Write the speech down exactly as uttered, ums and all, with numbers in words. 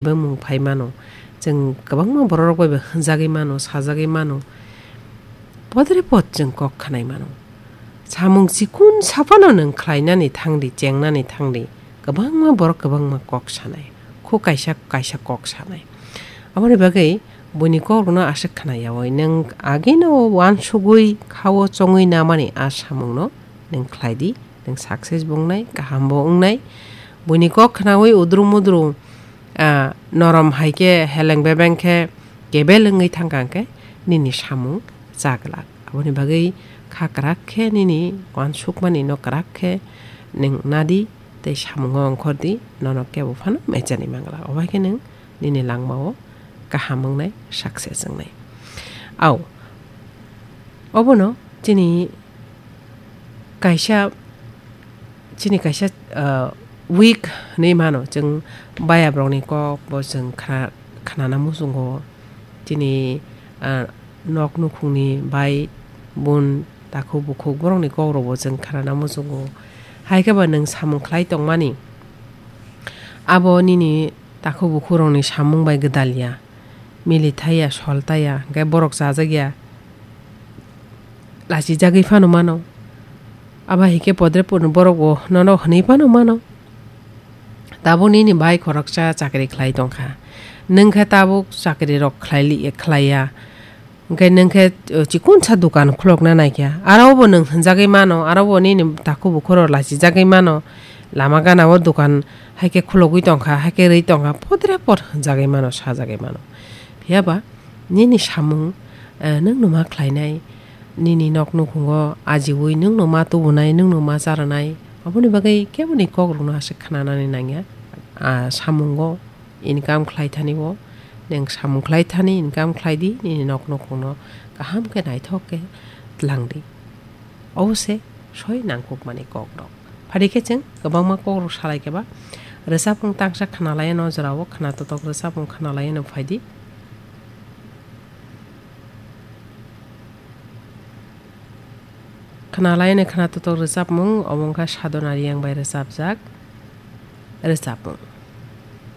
bemung phai mano. Chwng kwbangma bororok bai bo hwnjagwi mano, sajagwi mano. Podre pod chwng kok khanai mano. Samung chikun saphano nwng khlainani thangdi, chengnani thangdi, kwbangma borok kwbangma kok sanai. Khu kaisa kaisa kok sanai. Aboni bagwi buini kokrokno aswk khna yaui, nwng agino uansugwi khao chongwi namani a samungno nwng khlaidi, nwng success bo wngnai, kaham bo wngnai. Buini kok khnaui udru mudru, ah, norom hai khe heleng bebeng khe kebel wngwi thangkha hwnkhe nini samung chaglak. Aboni bagwi kha kwrak khe nini uansukmani no kwrak khe nwng nadi tei samungo ongkhordi, nono kebo phano mechani manglak. Obai khe nwng nini langmao kaham wngnai, success wngnai. Au, obono chini kaisa, chini kaisa, ah, weak hinwi mano. Chwng bayabrokni kok bo chwng khna-, khnana muchungo. Chini, ah, nok nukhungni bai bun takhuk bukhuk borokni kokrokbo chwng khnana muchungo. Hai khe ba nwng samung khlai tongmani, abo nini takhuk bukhukrokni samung bai gwdal ya, mili thai ya, sol tai ya, hwnkhe borok chajak ya, lachijagwi phano mano. Abo hai khe podre podre borok bo nono hwnwi phano mano. Tabuk nini bai khoroksa chakri khlai tongkha, nwng khe tabuk chakri rok khlai li-, khlai ya. Hwnkhe nwng khe, uh, chikunsa dukan khulokna naikha. Aro bo nwng hwnjagwi mano, aro bo nini takhuk bukhuro lachijagwi mano. Lama gana o dukan hai khe khulogwi tongkha, hai khe rwi tongkha, podre pod hwnjagwi mano, sajagwi mano. Phiya ba nini samung, eh, nwng no ma khlainai, nini nok nukhungo ajiui nwng no ma tubunai, nwng no ma charanai, aboni bagwi keboni kokrokno aswk khnanani nangya. Ah, samungo income khlai thani o, nwng samung khlai thani income khlai di, nini nok nukhungno kaham khe naithok khe tlang di. Obo se soi nangkukmani kokrok. Phadi khe chwng kwbangma kokrok salai khe ba rwchapmung tangsa khna lai anw, o jorao khna totok rwchapmung khna lai anw phai di. Khna lai anw khna totok rwchapmung, obo wngkha Sadhona Riyang bai rwchapjak rwchapmung.